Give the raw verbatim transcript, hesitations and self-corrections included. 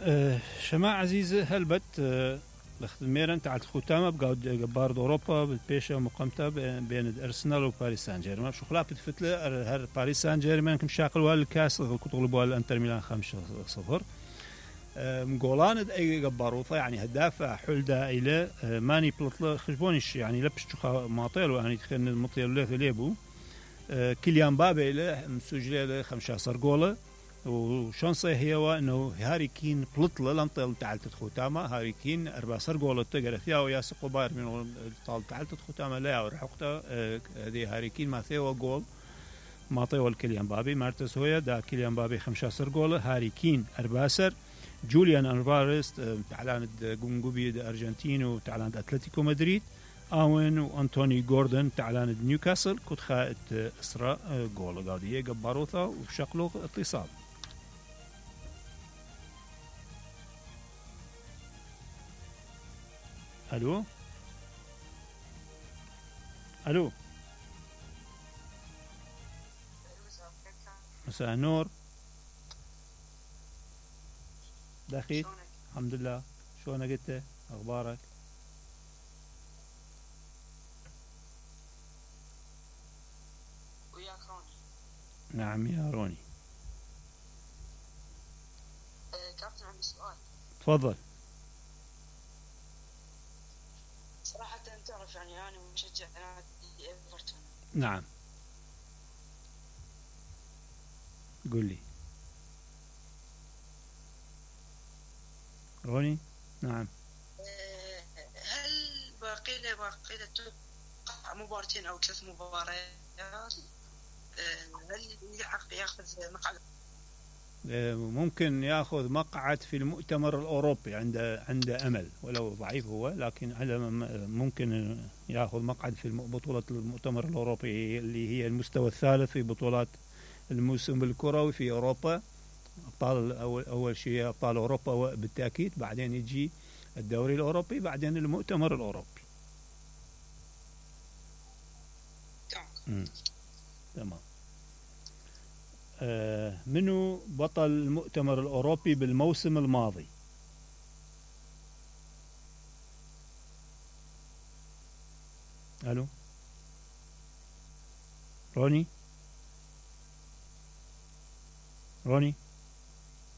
أه شماعة عزيزة هلبت أه ميرن تاع الختامة بقاعد جبار أوروبا بالبيشة مقامتها بين أرسنال وباريس سان جيرمان شو خلاف بتفتلة هر باريس سان جيرمان كم شاقل والكاس كتغلبوا الانتر ميلان خمسة صفر مقولان اي جباروطه يعني هداف حلدا الى ماني بلطله خشبونش يعني لبش ماطيل يعني خلينا المطيل له ليبو كيليان بابي له مسجل له خمسة عشر جوله وشانسه هي انه هاري كين بلطله لنطل تعالت ختامه هاري كين أربعة عشر جوله تقرا فيها ويا سقو باير من طال تعالت ختامه لا ورحقته هذه هاري كين ما ثيوا جول ما طيول كيليان بابي مارتس هويا دا كيليان بابي خمسة عشر جوله هاري كين أربعة عشر جوليان ألفاريز تعلان جونجوبي أرجنتين وتعلان أتلتيكو مدريد آوين وأنتوني جوردن تعلان نيوكاسل كنت خائت إسراء جول قاضية جباروثا وشقلو اتصال. ألو ألو مساء النور دخيل الحمد لله شلونك انت اخبارك وياك روني نعم يا روني أه كابتن عندي سؤال تفضل صراحة تعرف يعني أنا مشجع نادي إيفرتون نعم قل لي روني نعم هل باقي له باقي له توقع مباراتين أو ثلاث مباريات هل يحق ياخذ مقعد ممكن ياخذ مقعد في المؤتمر الأوروبي عنده عنده أمل ولو ضعيف هو لكن على ممكن ياخذ مقعد في بطولة المؤتمر الأوروبي اللي هي المستوى الثالث في بطولات الموسم الكروي في أوروبا أبطال أول أول شيء أبطال أوروبا بالتأكيد بعدين يجي الدوري الأوروبي بعدين المؤتمر الأوروبي. تمام. آه منو بطل المؤتمر الأوروبي بالموسم الماضي؟ ألو روني روني